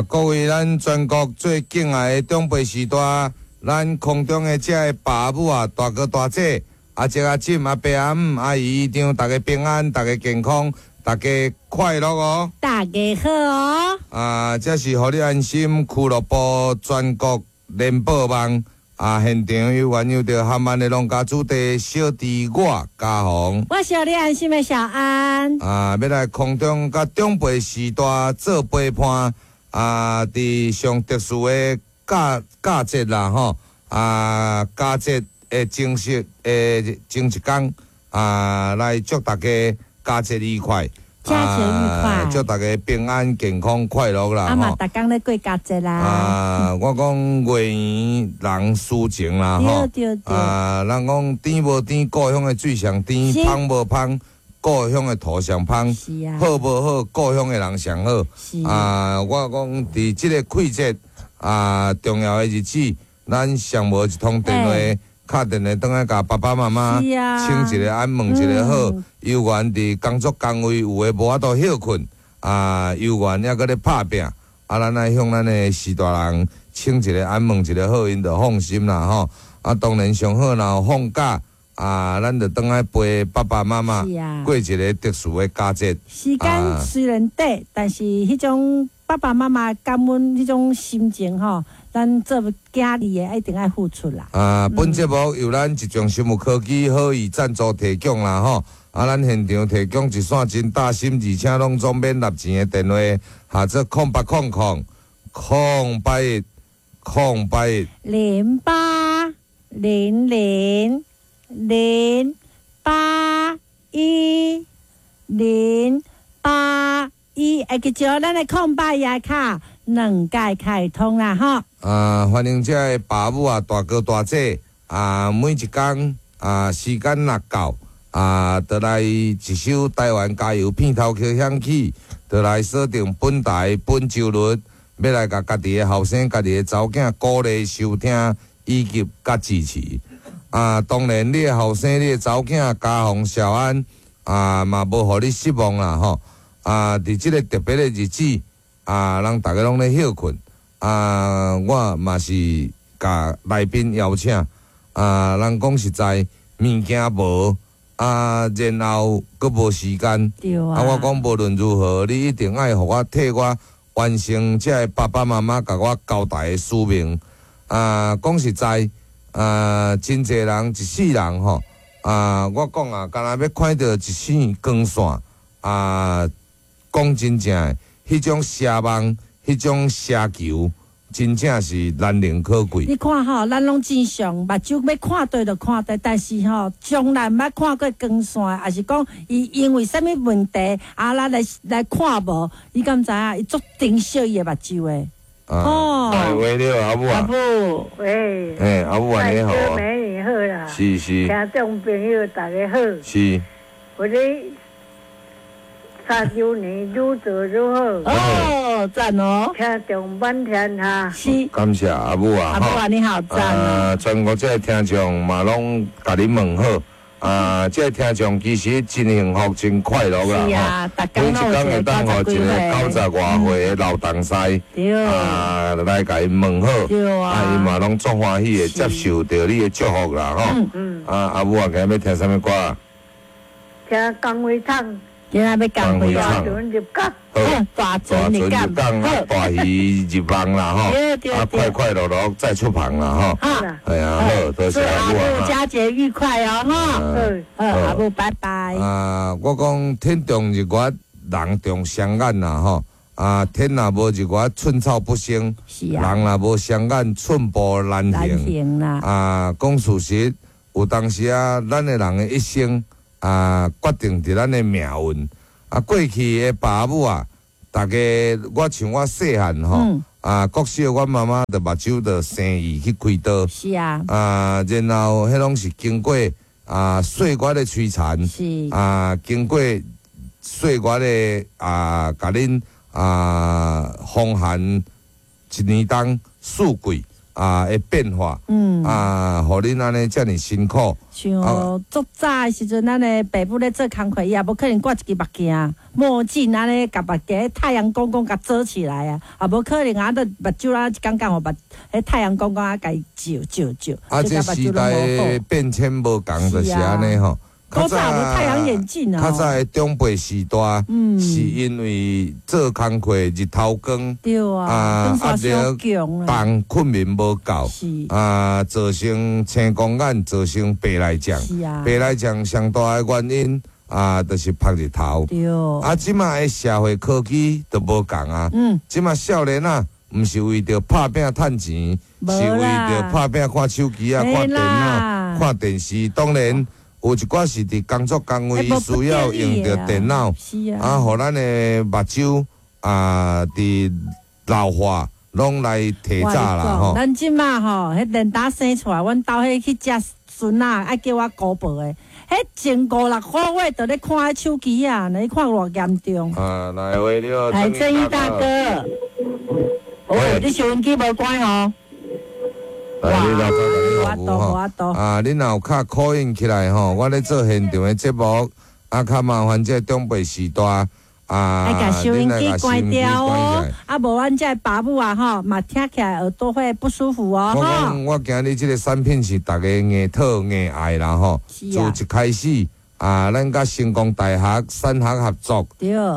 各位咱全國最敬愛的長輩序大，咱空中的這个爸母啊，大哥大姐，阿叔阿婶阿伯阿姆阿姨姨丈，大家平安，大家健康，大家快樂哦！大家好哦！啊，這是予你安心俱樂部全國聯播網啊，現場有緣有著含萬的農家子弟小弟我嘉宏，我是予你安心的小安。啊，欲來空中佮長輩序大做陪伴。啊，佇上特殊的假節啦吼，啊，佳節的前夕的前一工啊，來祝大家佳節愉快，佳節愉快，祝大家平安健康快樂啦！啊嘛，逐工咧過佳節啦。啊，我講月圓人抒情啦吼，啊，人講甜無甜，故鄉的水上甜；芳無芳，故鄉的土上芳。好無好，故鄉的人上好。啊，我講佇這个氣節啊重要的日子，咱上無一通電話，敲電話轉來共爸爸媽媽請一个安，問一个好。猶原佇工作崗位有的無法度歇睏，啊，猶原猶閣咧拍拚，啊，咱愛向咱的序大人請一个安，問一个好，𪜶就放心啦吼。啊，當然上好若有放假。啊，咱就轉來陪爸爸媽媽過一个特殊的佳節。時間雖然短，但是彼種爸爸媽媽感恩彼種心情吼，咱做囝兒的一定愛付出啦。啊，本節目由咱一眾生物科技好意贊助提供啦吼。啊，咱現場提供一線真貼心，而且攏總免納錢的電話，號做0800 081 081 0800 081 081，會記著咱的空八也卡兩屆開通啦吼。啊，歡迎這个爸母啊，大哥大姐啊，每一工啊時間若到啊，就來一首台灣加油片頭曲響起，就來鎖定本台本周日，欲來共家己的後生、家己的查某囝鼓勵收聽以及佮支持。啊，當然，你的後生、你的查某囝嘉宏、小安啊，嘛無予你失望啦吼！啊，佇這个特別的日子啊，人逐家攏咧歇睏啊，我嘛是共來賓邀請啊，人講實在，物件無啊，然後閣無時間。啊，我講無論如何，你一定愛予我替我完成這个爸爸媽媽共我交代的使命。啊，講實在。啊，真濟人一世人吼，啊，我講啊，敢若欲看著一線光線，啊，講真正的，彼種奢望，彼種奢求，真正是難能可貴。你看吼，咱攏正常，目睭欲看著就看著，但是吼，從來毋捌看過光線，抑是講伊因為啥物問題，啊，咱來來看無，你敢知影？伊足珍惜伊的目睭的。哦，喂，你好，阿母啊，阿母，喂，欸，阿母啊，你好，美女好啦，是是，聽眾朋友大家好，是，我咧三週年愈做愈好，哦，讚哦，聽眾滿天下，是，感謝阿母啊，阿母啊，你好讚啊，全國這个聽眾嘛攏共你問好。啊，這个聽眾其實真幸福、真快樂啦！吼，每一工會當予一个90外歲的老同事，啊，來共𪜶問好，啊，𪜶嘛攏足歡喜的接受著你的祝福啦，吼。啊，阿母啊，今日欲聽啥物歌？聽江蕙唱。今仔欲江蕙大船入港。好，大船入港，大魚入網啦，吼。啊，快快樂樂再出航啦，吼。係啊，好，多謝阿母啊。佳節愉快哦，吼。好，阿母拜拜。啊，我講天長日月，人長雙眼啦，吼。啊，天若無日月，寸草不生；人若無雙眼，寸步難行。啊，講事實，有當時啊，咱的人的一生啊，決定佇咱的命運。啊，過去的爸母啊，逐家我像我細漢吼，啊，國小阮媽媽就目睭就生意去開刀。啊，然後彼攏是經過啊歲月的摧殘。啊，經過歲月的啊，共恁啊風寒一年冬四季。啊的變化，啊，予恁按呢遮爾辛苦。像足早的時陣，咱的爸母咧做工課，伊也無可能掛一支目鏡、墨鏡按呢，共目鏡太陽公公共遮起來啊，也無可能啊，都目睭啊一工工予目，彼太陽公公啊共伊照照照。啊，這時代的變遷無仝，就是按呢吼。古早無太陽眼鏡啊。較早的長輩時代，是因為做工課日頭光，對啊，壓力重，困眠無夠，啊，造成青光眼，造成白內障。白內障上大的原因啊，就是曝日頭。啊，這馬的社會科技都無仝啊。這馬少年仔，毋是為著拍拚趁錢，是為著拍拚看手機啊、看電腦、看電視。當然，有一寡是佇工作崗位需要用著電腦，啊，予咱的目睭啊，佇老化攏來提早啦吼。咱這馬吼，彼電打生出來，阮兜彼去食孫仔，愛叫我姑婆的，彼前五六個月就咧看彼手機啊，你看偌嚴重。啊，來喂，你好，來正義大哥，喂，你收音機無關哦。來，你老婆共你服務吼。啊，你若有敲 call in 起來吼，我咧做現場的節目，啊，較麻煩這長輩時代啊，愛共收音機關掉哦，啊，無阮這爸母啊吼，嘛聽起來耳朵會不舒服哦。我講，我今日這個產品是逐家硬討硬愛啦吼。自一開始啊，咱佮成功大學產學合作，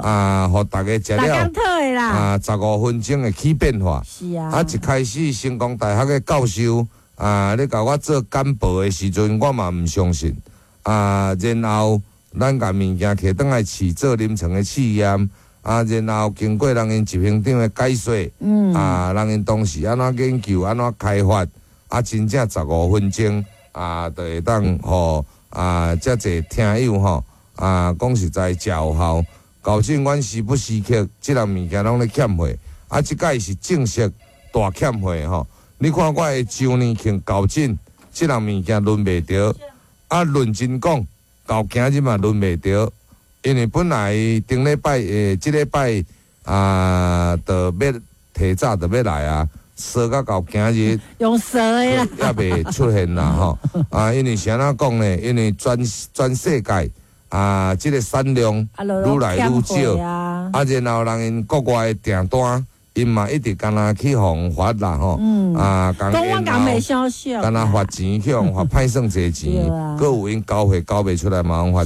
啊，予逐家食了啊，15分鐘會起變化。啊，一開始成功大學的教授啊，咧共我做簡報的時陣，我嘛毋相信。啊，然後咱共物件提轉來試做臨床的試驗，啊，然後經過人𪜶執行長的解說，啊，人𪜶當時按怎研究，按怎開發，啊，真正十五分鐘啊，就會當予啊，遮濟聽友吼，啊，講實在誠有效。厚證阮時不時刻，這項物件攏咧欠貨，啊，這擺是正式大欠貨吼。你看我的周年慶厚證，這項物件輪袂著，啊，論真講，到今日嘛輪袂著，因為本來頂禮拜這禮拜啊，就欲提早就欲來啊，趖到到今日用趖的啦，猶未出現啦吼。啊，因為是按怎講呢？因為全世界啊，這個產量愈來愈少，啊，然後人𪜶國外的訂單，𪜶嘛一直敢若去予發啦吼，啊，講我講袂相信，敢若罰錢去予罰歹算濟錢，閣有𪜶交貨交袂出來嘛，予罰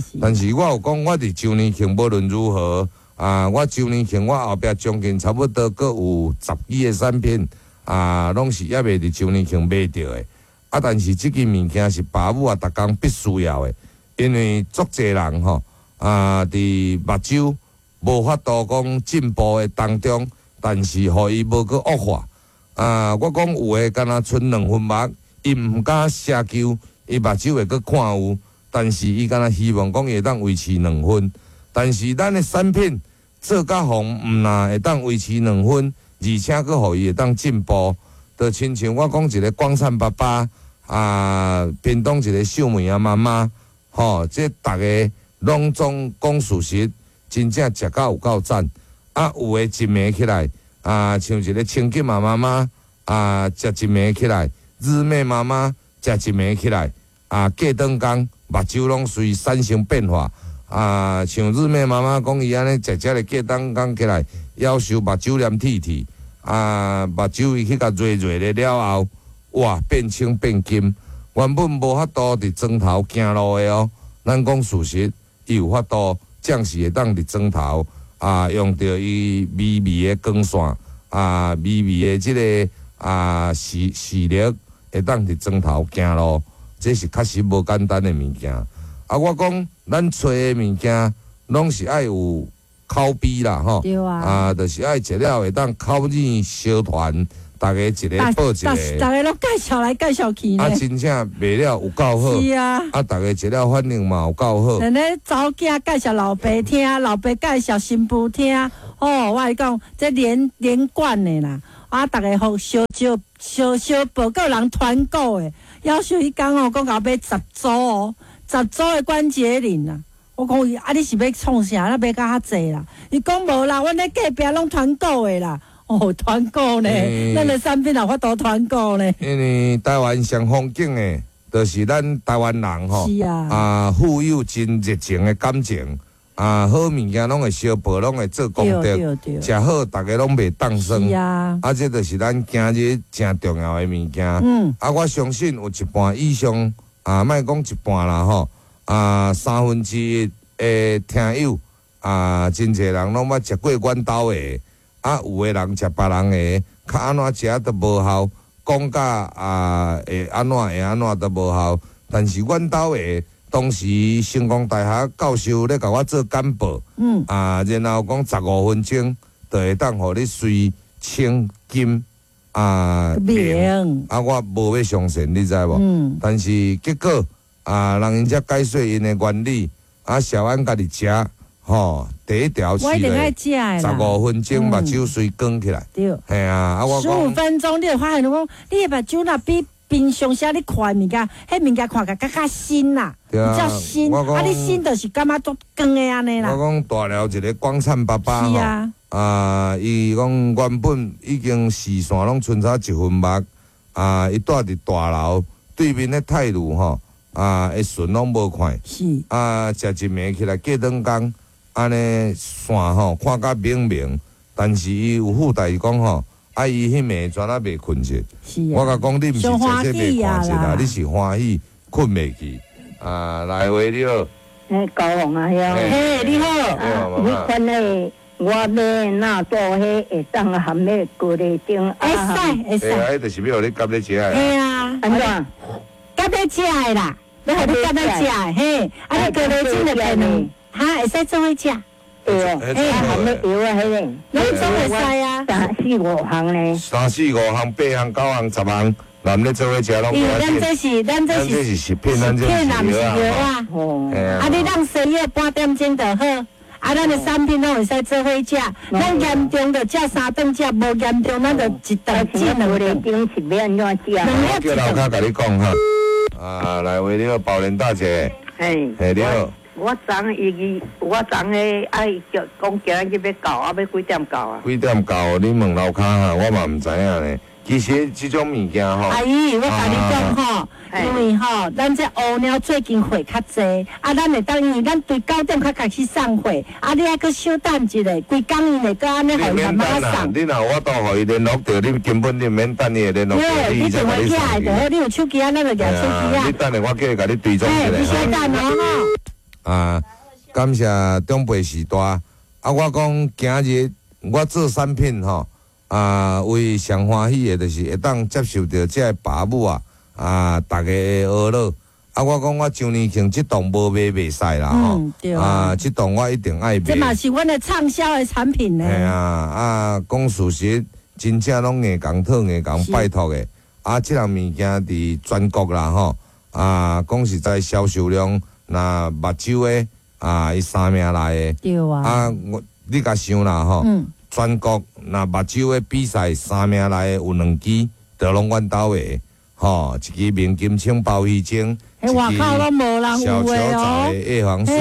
錢。但是我有講，我佇周年慶無論如何啊，我周年慶我後壁將近差不多閣有10支的產品啊，攏是猶未佇周年慶買著的。啊，但是這支物件是爸母啊，逐工必須要的，因為足濟人吼啊，佇目睭無法度講進步的當中。但是，予伊無閣惡化啊！我講有的，敢若賰兩分目，伊毋敢奢求，伊目睭會閣看有，但是伊敢若希望講伊會當維持兩分。但是咱的產品做甲予毋但會當維持兩分，而且閣予伊會當進步。就親像我講一個廣燦爸爸啊，屏東一個秀美仔媽媽，吼，這逐家攏總講事實，真正食甲有夠讚。啊，有的一暝起來，啊，像一個清潔媽媽啊，食一暝起來，日妹媽媽食一暝起來，啊，過轉工目睭攏隨產生變化。啊，像日妹媽媽講伊按呢食食咧過轉工起來，夭壽目睭黏鐵鐵，啊，目睭伊去共熱熱咧了後，哇，變青變金。原本無法度佇妝頭行路的哦，咱講事實，伊有法度，暫時會當佇妝頭。啊，用著伊微微的光線，啊，微微的這個啊視力，會當佇妝頭行路，這是確實無簡單的物件。啊，我講咱揣的物件，攏是愛有口碑啦，吼。對啊。啊，就是愛食了會當口耳相傳，逐家一个報一个。逐家攏介紹來介紹去。啊，真正賣了有夠好。是啊。啊，逐家食了反應嘛有夠好。連咧查某囝介紹老爸聽，老爸介紹新婦聽，哦，我共你講，這連貫的啦。啊，逐家互相招相相報閣有人團購的，夭壽彼工哦，講共買十組哦，十組的關節靈啊。我講伊啊，你是欲創啥？你買甲較濟啦？伊講無啦，阮咧隔壁攏團購的啦。哦，團購呢，咱的產品也法度團購呢。因為台灣上風景的，就是咱台灣人吼，是啊，啊，富有真熱情的感情，啊，好物件攏會相報，攏會做功德，食好逐家攏袂當算。是啊，啊，這就是咱今日誠重要的物件。啊，我相信有一半以上，啊，莫講一半啦吼，啊，1/3的聽友，啊，真濟人攏捌食過阮兜的。啊，有的人食別人的，較按怎食都無效，講甲啊會按怎會按怎都無效。但是阮兜的當時成功大學教授咧共我做簡報，啊，然後講15分鐘就會當予你隨清金啊明，啊，我無欲相信，你知無？但是結果啊，人𪜶才解說𪜶的原理，啊，小安家己食。吼，第一條是咧，15分鐘目睭隨光起來。對，嘿啊，啊我15分鐘，你會發現講，你的目睭若比平常時你看的物件，彼物件看起來較較新啦，比較新。啊，你新就是感覺足光的按呢啦。我講大寮一個光燦爸爸吼，啊，伊講原本已經視線攏賰差一分目，啊，伊住佇大樓對面的泰魯吼，啊，的船攏無看，啊，食一暝起來過兩工。按呢線吼看甲明明，但是伊有附帶講吼，啊伊彼暝全仔袂睏著。我共講，你毋是食這袂看著啦，你是歡喜睏袂去。啊，來喂，你好。欸，高雄阿兄。嘿，你好。啊，彼款的我買納豆，彼會當含彼高麗丁。會使會使。欸，彼就是欲予你夾咧食的。嘿啊。按怎？夾咧食的啦，欲予你夾咧食的，嘿，啊你高麗精就變兩。哈，會使做伙食？對哦，欸，含咧藥啊，彼个，攏總會使啊。三四五項呢？三四五項、八項、九項、10項，男咧做伙食攏。因為咱這是，咱這是食品，咱這是藥啊。哦。啊，你當西藥半點鐘就好。啊，咱的產品攏會使做伙食。咱嚴重就食3頓食，無嚴重咱就一頓至兩頓。頂是欲按怎食？我叫樓跤共你講哈。啊，來喂，你好，寶蓮大姐。嘿。嘿，你好。我昨伊，我昨彼愛叫講今日欲到，啊欲幾點到啊？幾點到？你問樓跤哈，我嘛毋知影呢。其實這種物件吼，阿姨，我共你講吼，因為吼，咱這烏貓最近貨較濟，啊，咱會當因為咱對9點較開始送貨，啊，你還閣小等一下，規工伊會閣按呢，予伊慢慢送。你若有法度予伊聯絡著，你根本你毋免等伊會聯絡著，你電話起來就好，你有手機啊，咱就舉手機啊。你等下我叫伊共你追蹤一下。你先等哦吼。啊，感謝長輩時代。啊，我講今日我做產品吼，啊，為上歡喜的，就是會當接受著這个爸母啊，啊，逐家的呵咾。啊，我講我周年慶這檔無賣袂使啦吼，啊，這檔我一定愛賣。這嘛是阮的暢銷的產品呢。嘿啊，啊，講事實，真正攏硬共討硬共拜託的。啊，這項物件佇全國啦吼，啊，講實在銷售量。若目睭的啊，伊三名來的，對啊，啊，我你共想啦吼，全國若目睭的比賽三名來的有2支，就攏阮兜的，吼，一支明金青鮑魚精，一支小球藻的叶黄素，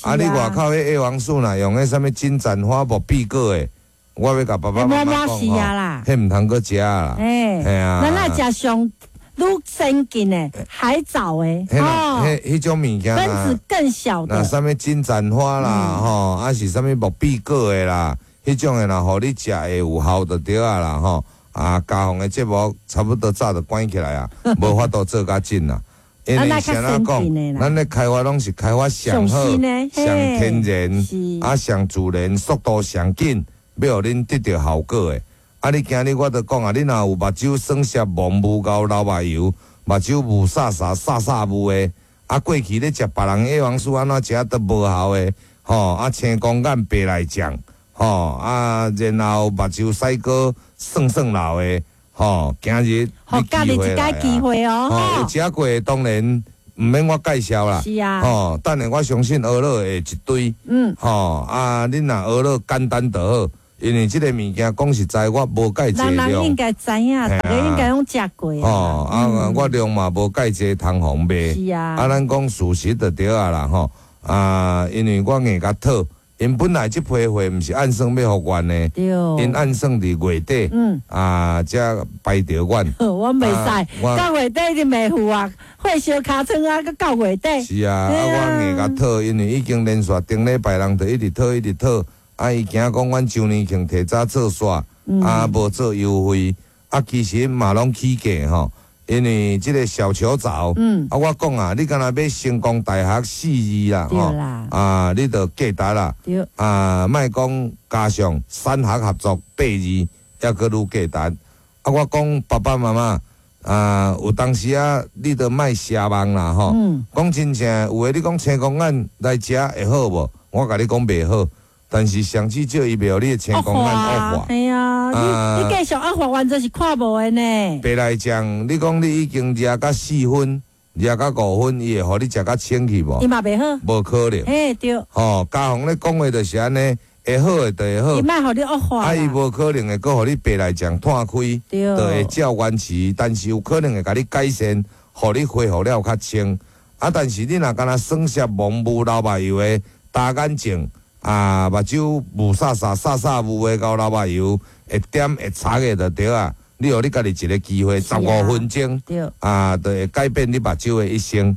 啊，你外口彼叶黄素若用彼啥物金盏花木碧果的，我欲共爸爸媽媽講吼，彼毋通閣食啦，嘿啊，咱愛食上。愈先進的海藻的，哦，彼種物件分子更小的，那啥物金盞花啦，吼，啊是啥物木碧果的啦，彼種的啦，予你食會有效就對啊啦，吼，啊，家訪的節目差不多早就關起來啊，無法度做較緊啦。因為啥怎講，咱咧開發攏是開發上好、上天然、啊上自然、速度上緊，欲予恁得著效果的。啊！你今日我著講啊，你若有目睭酸澀、蒙霧厚、流目油、目睭霧煞煞、煞煞霧的，啊，過去咧食別人葉黃素按怎食都無效的，吼啊，青光眼、白內障，吼啊，然後目睭屎膏酸酸流的，吼，今日你機會來啊！機會哦，有食過的當然毋免我介紹啦，是啊，吼，等下我相信學樂會一堆，吼啊，恁若學樂簡單就好。因為這個物件講實在，我無介濟量。人人應該知影，大家應該攏食過。哦，啊，我量嘛無介濟通方賣。是啊。啊，咱講事實就對啊啦吼。啊，因為我硬共討， 𪜶本來這批貨毋是按算欲予阮的，𪜶按算佇月底，啊，才排著阮。我袂使，到月底就袂付啊，火燒尻川啊，閣到月底。是啊，啊，我硬共討，因為已經連續頂禮拜人就一直討，一直討，啊，伊驚講阮周年慶提早做煞，啊，無做優惠，啊，其實嘛攏起價吼。因為這個小球藻，啊，我講啊，你敢若欲成功大學四字啦，吼，啊，你就記得啦，啊，莫講加上三學合作八字，抑閣愈價值。啊，我講爸爸媽媽，啊，有當時啊，你就莫奢望啦，吼。講真正，有的你講青光眼來食會好無？我共你講袂好。但是上至少伊袂予你的青光眼惡化。係啊，你繼續惡化，完全是看無的呢。白內障，你講你已經食甲4分，食甲5分，伊會予你食甲清去無？伊嘛袂好。無可能。嘿，對。吼，家宏咧講話就是按呢，會好的就會好。伊莫予你惡化。啊，伊無可能會閣予你白內障斷開，就會照原詞，但是有可能會共你改善，予你恢復了較清。啊，但是你若干焦耍澀蒙霧流目油的焦眼症。啊，目睭霧煞煞、煞煞霧的，佮流目油會點會擦的就對啊。你予你家己一個機會，15分鐘，啊，就會改變你目睭的一生。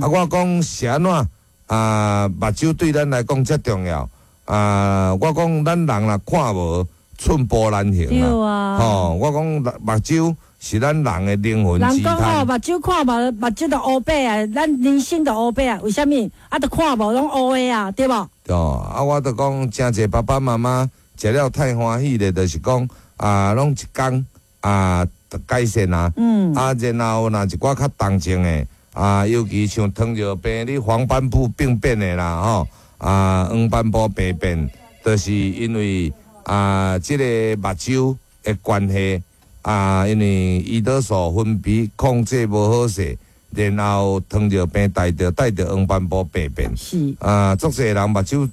啊，我講是按怎啊，目睭對咱來講遮重要。啊，我講咱人若看無，寸步難行啊。吼，我講目睭是咱人的靈魂之。人講吼，目睭看無，目睭就烏白啊，咱人生就烏白啊。為啥物？啊，就看無攏烏的啊，對無？哦，啊，我就講，誠濟爸爸媽媽食了太歡喜咧，就是講啊，攏一工啊，改善啊。啊，然後若一寡較重症的啊，尤其像糖尿病、你黃斑部病變的啦，吼啊，黃斑部病變，就是因為啊，這個目睭的關係啊，因為胰島素分泌控制無好勢。然後糖尿病帶著黃斑部病變，是啊，足濟人目睭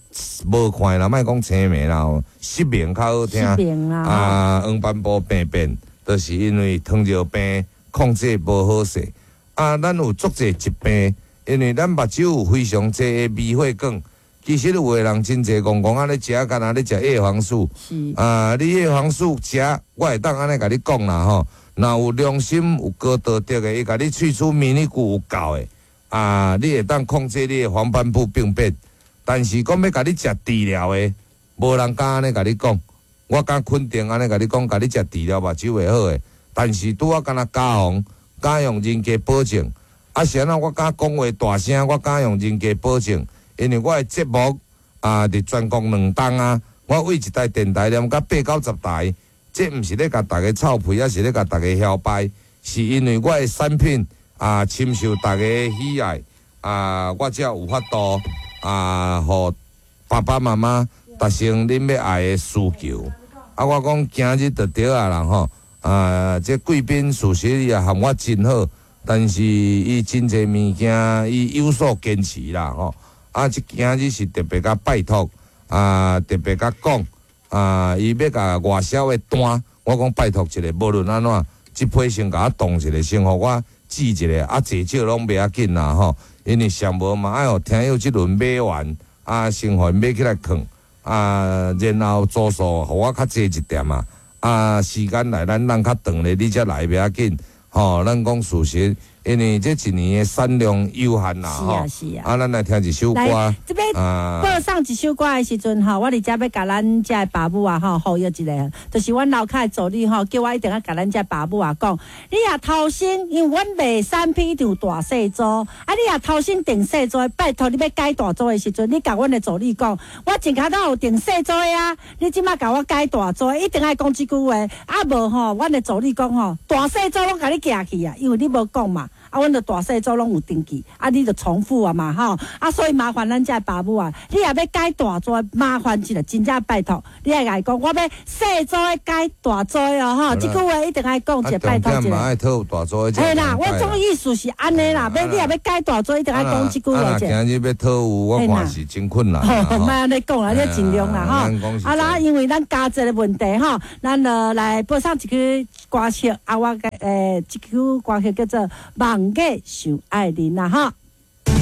無看啦，莫講青盲啦，失明較好聽。失明啦，啊，黃斑部病變，就是因為糖尿病控制無好勢。啊，咱有足濟疾病，因為咱目睭有非常濟的微血管。其實有的人真濟戇戇仔咧食，敢若咧食葉黃素。是啊，你葉黃素食，我會當按呢共你講啦吼。若有良心、有高道德的，伊共你喙齒免疫力有夠的，啊，你會當控制你的黃斑部病變。但是講欲共你食治療的，無人敢按呢共你講。我敢肯定按呢共你講，共你食治療目睭會好的。但是拄仔敢若家宏，敢用人格保證，啊是按怎我敢講話大聲，我敢用人格保證，因為我的節目啊，佇全國兩冬啊，我為一台電台連甲八九十台。這毋是咧共大家臭屁，抑是咧共大家囂掰，是因為我的產品啊，深受大家的喜愛啊，我才有法度啊，予爸爸媽媽達成恁欲愛的需求。啊，我講今日就對啊啦吼，啊，這貴賓事實伊也和我真好，但是伊真濟物件伊有所堅持啦吼。啊，這今日是特別共拜託啊，特別共講。啊！伊欲共外銷的單，我講拜託一下，無論按怎，這批先共我凍一下，先予我試一下，啊，濟少攏袂要緊啦吼。因為上無嘛愛予聽友這輪買完，啊，先予𪜶買起來囥，啊，然後組數予我較濟一點啊，啊，時間來咱等較長咧，你才來袂要緊，吼，咱講事實。因為這一年的產量有限啦，吼，是啊，是啊。啊，咱來聽一首歌。來，這邊播送一首歌的時陣吼，我佇遮欲共咱遮的爸母啊吼呼籲一下，就是阮樓跤的助理吼，叫我一定愛共咱遮爸母啊講，你若頭先因為阮賣產品一定有大細組，啊，你若頭先訂細組的，拜託你欲改大組的時陣，你共阮的助理講，我前較早有訂細組的啊，你這馬共我改大組，一定愛講這句話，啊無吼，阮的助理講吼，大細組攏共你寄去啊，因為你無講嘛。啊，阮著大細組攏有登記，啊，你著重複啊嘛，吼，啊，所以麻煩咱遮的爸母啊，你若欲改大組，麻煩一下，真正拜託，你愛共伊講，我欲細組的改大組哦，吼，這句話一定愛講一下，拜託一下。愛討大組的。嘿啦，我總意思是按呢啦，欲你若欲改大組，一定愛講這句話者。今日欲討有，我看是真困難。吼，莫按呢講啦，你盡量啦，吼。啊啦，因為咱加濟的問題吼，咱就來播送一曲歌曲，啊，我這曲歌曲叫做《望月想愛人》啦，吼。